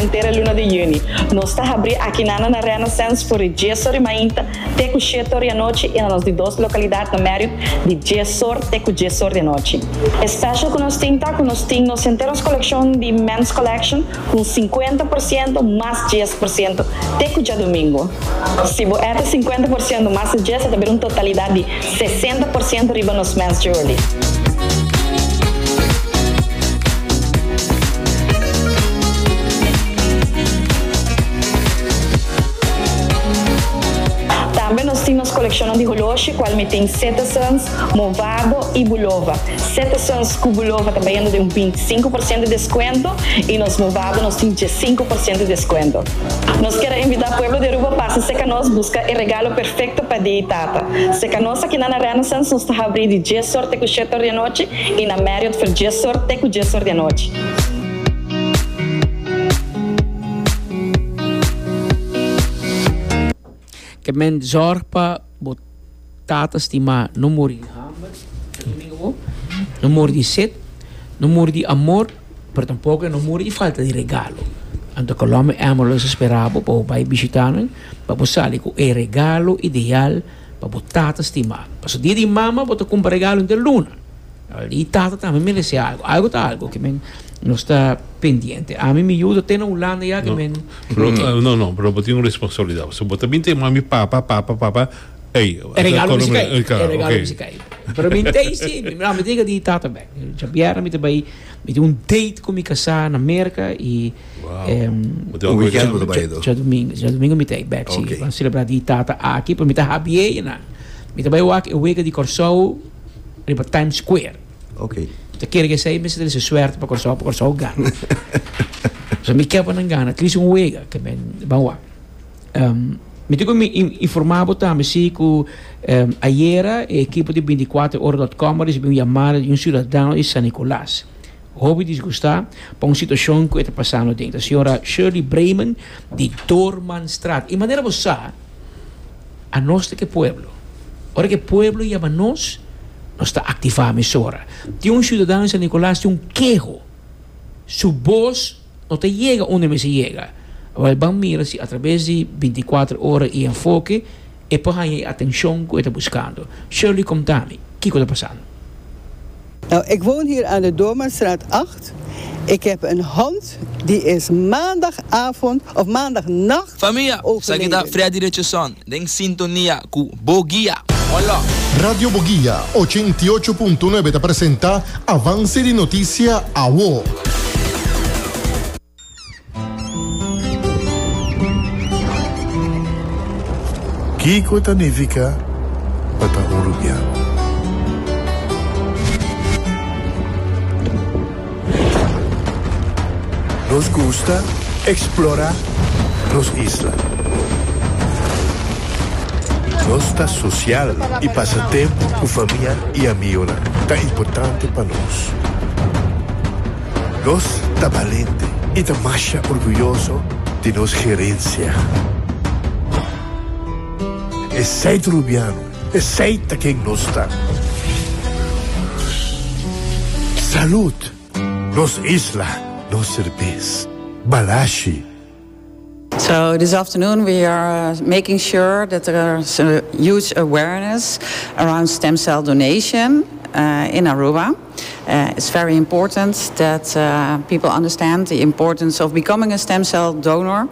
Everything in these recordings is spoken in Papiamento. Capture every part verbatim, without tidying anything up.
henter luna di juni. Nos ta habri aki na na Renaissance for di dies or di mainta te cu shete or di anochi y na nos di dos localidad na Marriott di dies or te cu dies or di anochi. E special cu nos tin ta cu nos tin nos henter coleccion di Men's Collection cu cincuenta por ciento mas dies por ciento te cu diadomingo. Si bo add cincuenta por ciento mas dies, ta un totalidad di sesenta por ciento riba nos Men's Jewelry. Tambe nos tin coleccion di horloge, cual mi tin Citizens, Movado y Bulova. Citizens cu Bulova tambe tin un binticinco por ciento di descuento y nos Movado nos tin cinco por ciento di descuento. Nos kier invita pueblo di Aruba pa serca nos busca e regalo perfecto pa dia di tata. Serca nos aki na Renaissance nos ta habri di dies or te shete or di anochi y na Marriott for dies or te dies or di anochi. Ke men zorg pa bo tata stima no muri di hamber, domingo, no muri di sed, no muri di amor, pero tampoco no muri di falta di regalo. Anto Colombia Emerald ta spera bo pa bay bishita nan, pa bo sali cu e regalo ideal pa bo tata stima. Paso dia di mama, bo ta cumpra regalo di luna. E tata tambe merece algo. Algo ta algo ke men nos ta pendiente. Ami mi yiu ta na Hulanda ya ke No. men Pero, uh, no, no, pero tin un responsabilidad. So, bo tambe tin mami, papa, papa, papa. Ey, E regalo mi eh, cay. claro, E regalo ok. mi cay. Pero mi tey si, mi mi diga di tata bek. Javier mi bay mi tin un date cu mi casa na Merca y Wow. em, Bo tin Un weekend algo bo ta bay do. Diadomingo, diadomingo mi tey back si. Ok. Ban celebra di tata aki, pero mi ta happy na. Mi ta bay wak e wega di Corsou riba Times Square. Ok. Ta kere cu esey mi ta suerte pa Corsou, pa Corsou gana. So mi kier pa nan gana, at least un wega, ke men ban wak. Um, mi tin cu mi informa tambe si cu um, ayera e ekipo di binticuater ora punto com a ricibi un yamada di un ciudadano di San Nicolas. Hopi disgusta pa un situacion cu ta pasando den. Señora Shirley Bremen di Dormanstraat. Y manera bo sa, anos ta cu pueblo. Ora cu pueblo yama nos, nos ta activa emisora. Tin un ciudadano di San Nicolas tin un keho. Su voz no ta yega unda mester yega. Wel, ban mira si a traves di binticuater Ora y Enfoke e por haya e atencion cu e ta buscando. Shirley, conta mi, kico ta pasando? Nou, ik woon hier aan de Doormanstraat acht. Ik heb een hond die is maandagavond of maandagnacht Famia, overleden. esaki ta Freddy Richardson, den sintonia cu Boguia. Hola. Radio Boguia ochenta y ocho punto nuebe ta presenta Avance di Noticia Awo. Kico ta nifica pa ta un Rubiano? Nos gusta explora nos isla. Nos ta social y pasa tempo cu famia y amigo. Ta importante pa nos. Nos ta valiente y ta mas orguyoso di nos herencia. Esey ta Rubiano, esey ta ken nos ta. Salud, nos isla, nos cerbes, Balashi. So this afternoon we are uh, making sure that there's a huge awareness around stem cell donation uh, in Aruba. Uh, it's very important that uh, people understand the importance of becoming a stem cell donor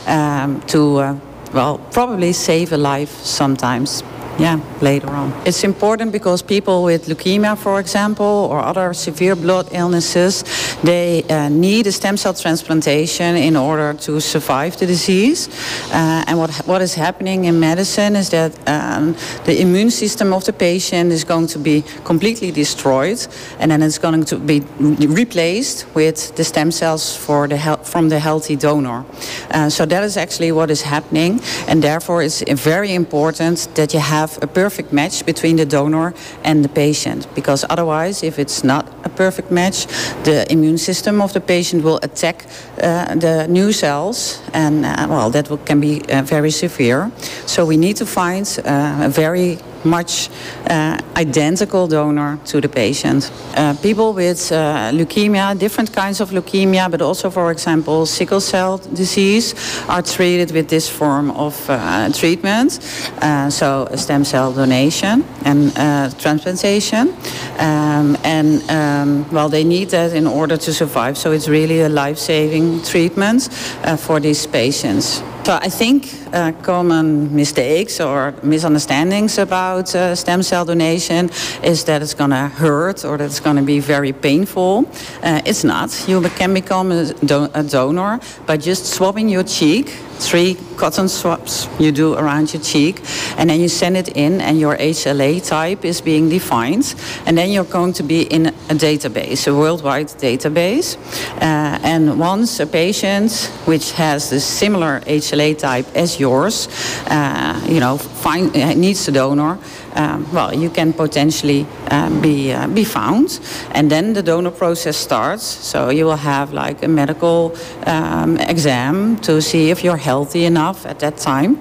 um, to, uh, well, probably save a life sometimes. Yeah, later on. It's important because people with leukemia, for example, or other severe blood illnesses, they uh, need a stem cell transplantation in order to survive the disease. Uh, and what, what is happening in medicine is that um, the immune system of the patient is going to be completely destroyed, and then it's going to be replaced with the stem cells for the hel- from the healthy donor. Uh, so that is actually what is happening, and therefore it's very important that you have a perfect match between the donor and the patient, because otherwise, if it's not a perfect match, the immune system of the patient will attack uh, the new cells, and uh, well, that will, can be uh, very severe. So we need to find uh, a very much uh, identical donor to the patient. Uh, people with uh, leukemia, different kinds of leukemia, but also, for example, sickle cell disease, are treated with this form of uh, treatment. Uh, so, a stem cell donation and uh, transplantation. Um, and, um, well, they need that in order to survive. So, it's really a life saving treatment uh, for these patients. So I think uh, common mistakes or misunderstandings about uh, stem cell donation is that it's going to hurt or that it's going to be very painful. Uh, it's not. You can become a, do a donor by just swabbing your cheek, three cotton swabs you do around your cheek, and then you send it in, and your HLA type is being defined, and then you're going to be in a database, a worldwide database. Uh, and once a patient which has the similar HLA type as yours, uh, you know, find, uh, needs a donor, um, well, you can potentially uh, be uh, be found, and then the donor process starts. So you will have like a medical um, exam to see if you're healthy enough at that time,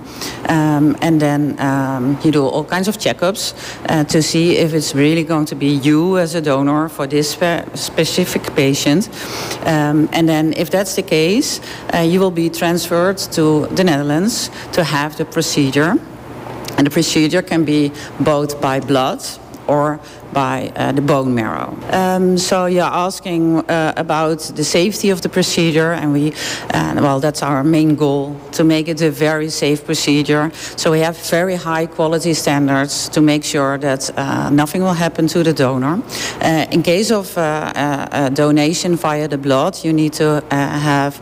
um, and then um, you do all kinds of checkups uh, to see if it's really going to be you as a donor for this spe specific patient. Um, and then if that's the case, uh, you will be transferred to the Netherlands to have the procedure. And the procedure can be both by blood or by uh, the bone marrow. Um, so you're asking uh, about the safety of the procedure, and we, uh, well, that's our main goal to make it a very safe procedure. So we have very high quality standards to make sure that uh, nothing will happen to the donor. Uh, in case of uh, a donation via the blood, you need to have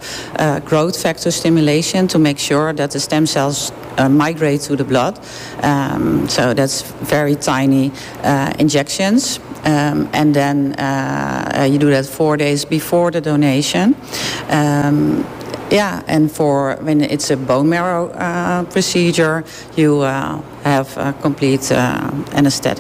growth factor stimulation to make sure that the stem cells migrate to the blood. Um, so that's very tiny injection. Um, and then uh, you do that four days before the donation. Um, yeah, and for when it's a bone marrow uh, procedure, you uh, have a complete uh, anesthetic.